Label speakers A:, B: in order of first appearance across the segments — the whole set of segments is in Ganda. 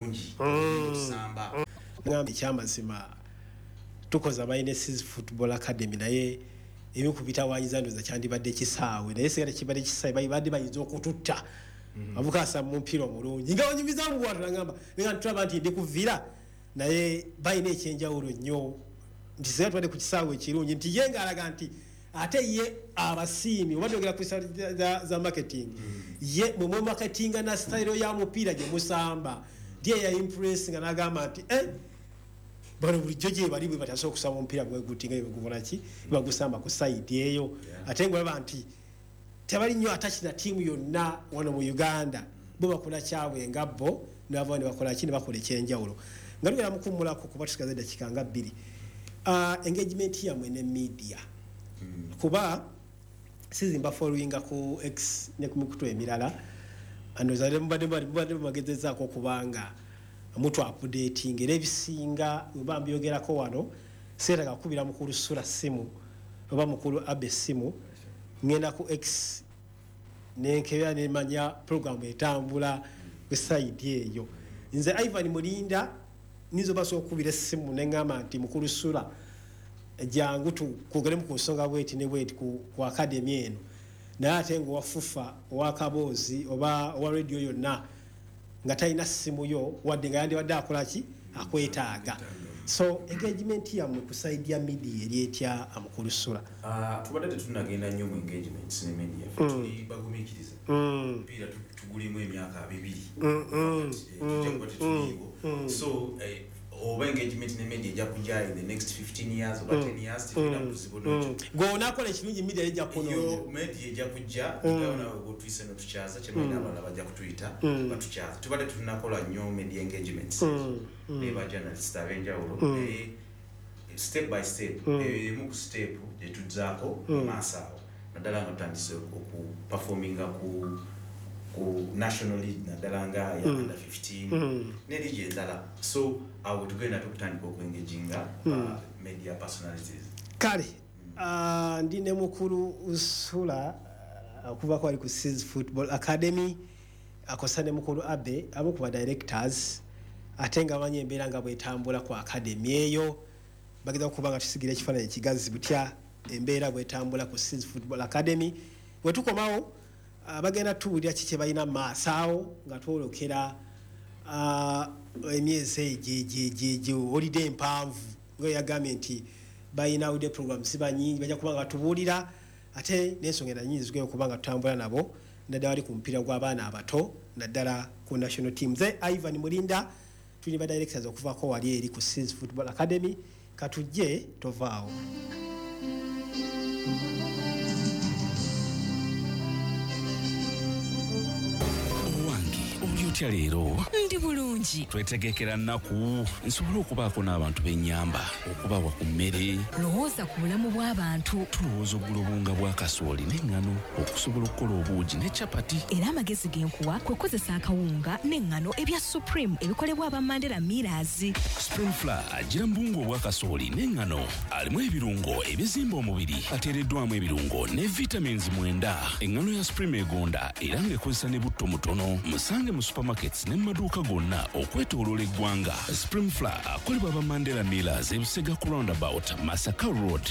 A: Bulungi okusamba.
B: Ngamba ekyamazima, tukoze Amayinesis Football Academy, naye ebimu ku bitawanyiza ndoza kyandibadde kisaawe, naye singa tekibadde kisaawe badde bayinza okututta. Avuka asamba omupiira omulungi nga banyumiza mu bwatu, nagamba nga tulaba nti ndi kuvira, naye balina ekyenjawulo nnyo nti singa tubadde ku kisaawe ekirungi, nti ye ng'alaga nti ate ye abasiimi oba twogera ku za marketing, ye mwe mwemarketinga na style ya mupiira gye musamba, nti ye ya impress nga n'agamba nti bano bulijjo gye bali bwe batasobola okusamba omupiira bwe guti nga bwe ki bagusamba ku side eyo, ate ng'olaba nti tebali nnyo attached na ttiimu yonna wano mu Uganda, bo bakola kyabwe nga bo ne bavayo ne bakola ki, ne bakola ekyenjawulo. Nga tugenda mukummulako kuba tusigaza eddakiika nga 2, engagement yammwe ne media, kuba sizimba followinga ku X ne ku mikutu emirala, ndowooza mubadde mubagezezaako okubanga mutu updating, era ebisinga weba mbyogerako wano seetaaga kukubira mukulu Sula ssimu oba mukulu Abe ssimu, ngenda ku X nenkebera nemanya program etambula ku side eyo. Nze Ivan Mulinda nyinza obasobola okukubira essimu neŋŋamba nti mukulu Sula, jangu tukwogeremu ku nsonga bweti ne bweti ku academy eno, naye ate nga owa FUFA, owakaboozi oba owa radio yonna nga talina ssimu yo, wadde nga yandibadde akola ki, akwetaaga. So engagement yammwe ku side ya media eri etya, amukulu Sula?
A: Ah, tubadde tetunagenda nnyo mu engagements ne media. Ffe tuli bagumiikiriza. Omupiira tugulimu emyaka 20. Tujja kuba tetuliiwo, so oba engagement ne media ejja kujja in the next 15 years oba 10 years, tetulina buzibu nakyo.
B: Gwe onaakola ekirungi, media ejja kunoonya.
A: Yo media ejja kujja nga nawe bwotuyise notukyaza, kyemanyi n'abalala bajja kutuyita batukyaza. Tubadde tunakola nnyo media engagements ne ba journalist ab'enjawulo, naye step by step, eyo emu ku step gyetuzzaako mu maaso awo, naddala nga tutandise okuperforminga ku national league, naddala nga ya under 15 ne league endala. So awo tugenda tukutandika okuengaginga ba media personalities.
B: Kale, ndi ne mukulu Sula okuvako ali ku Seas Football Academy, akosa ne mukulu Abe, amu ku ba directors, ate nga bamanyi embeera nga bwetambula ku academy eyo. Bageza okuba nga tusigira ekifaananyi ekigazi butya embeera bwetambula ku Seas Football Academy. Bwe tukomawo, bagenda tuwulira ki kye balina mu maaso awo nga twolokera emyezi egyo holiday empanvu, nga yagambye nti balina holiday program ziba nyingi, bajja kuba nga batubuulira, ate n'ensonga endala nyingi zigenda okuba nga tutambula nabo, naddala bali ku mupiira gw'abaana abato, naddala ku national team. Ze Ivan Mulinda, tuli ba directors okuvaako wali eri ku Seas Football Academy. Katujje, tovaawo.
C: Owange, oli otya leero?
D: Ndi bulungi.
C: Twetegekera nnaku nsobole okubaako n'abantu b'ennyamba okubawa ku mmere.
D: Lowooza ku bulamu bw'abantu.
C: Tulowooza okugula obuwunga bwa kasooli n'eŋŋano okusobola okukola obuugi ne capati.
D: Era amagezi ge nkuwa kwe kukozesa akawunga n'eŋŋano ebya Supreme ebikolebwa aba Mandela Millers.
C: Supreme Flour agira mu buwunga obwa kasooli n'eŋŋano, alimu ebirungo ebizimba omubiri, ateereddwamu ebirungo ne vitamins 9. Eŋŋano ya Supreme egonda era ng'ekozesa ne butto mutono. Musange mu supermarkets ne mu maduuka gonna okwetooloola eggwanga. Supreme Flour akolebwa aba Mandela Millers, ebusega ku roundabout Masaka Road.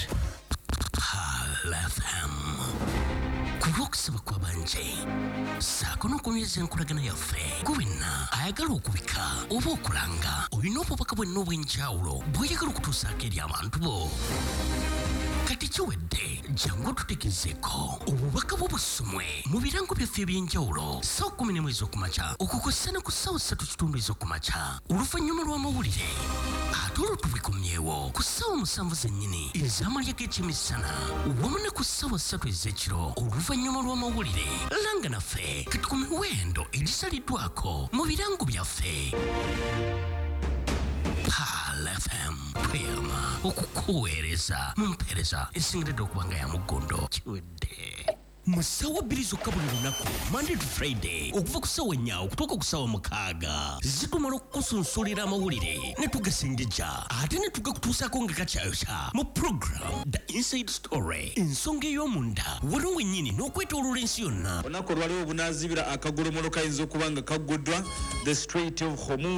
E: Pearl FM, ku lw'okusaba kw'abanje ssaako n'okunyweza enkolagana yaffe, gwe wenna ayagala okubika oba okulanga, olina obubaka bwenna obw'enjawulo bw'oyagala okutuusaako eri abantu bo, kati kiwedde. Jangu otutegezeeko obubaka bwo busomwe mu birango byaffe eby'enjawulo ssaawa 11 ez'okumakya okukosa ne ku ssaawa 3:15 ez'okumakya oluvannyuma lw'amawulire, ate olwo tubikomyewo ku ssaawa 7 zennyini ez'amalya g'ekyemisana wamu ne ku ssaawa 3 ez'ekiro oluvannyuma lw'amawulire. Langa naffe kati ku miwendo egisaliddwako mu birango byaffe. Pearl FM, tweyama okukuweereza mu mpeereza esingiridde okuba nga ya muggondo. Kiwedde. Mu ssaawa 2 zokka buli lunaku, Monday to Friday, okuva ku ssaawa 4 okutuuka ku ssaawa 6, zitumala okukusunsulira amawulire ne tugasengejja ate ne tugakutuusaako nga gakyayokya mu program The Inside Story, ensonga ey'omunda wano wennyini n'okwetooloola ensi yonna.
F: Olunaku olwaliwo obunaazibira akagolomolo kayinza okuba nga kagguddwa, the Strait of Hormuz.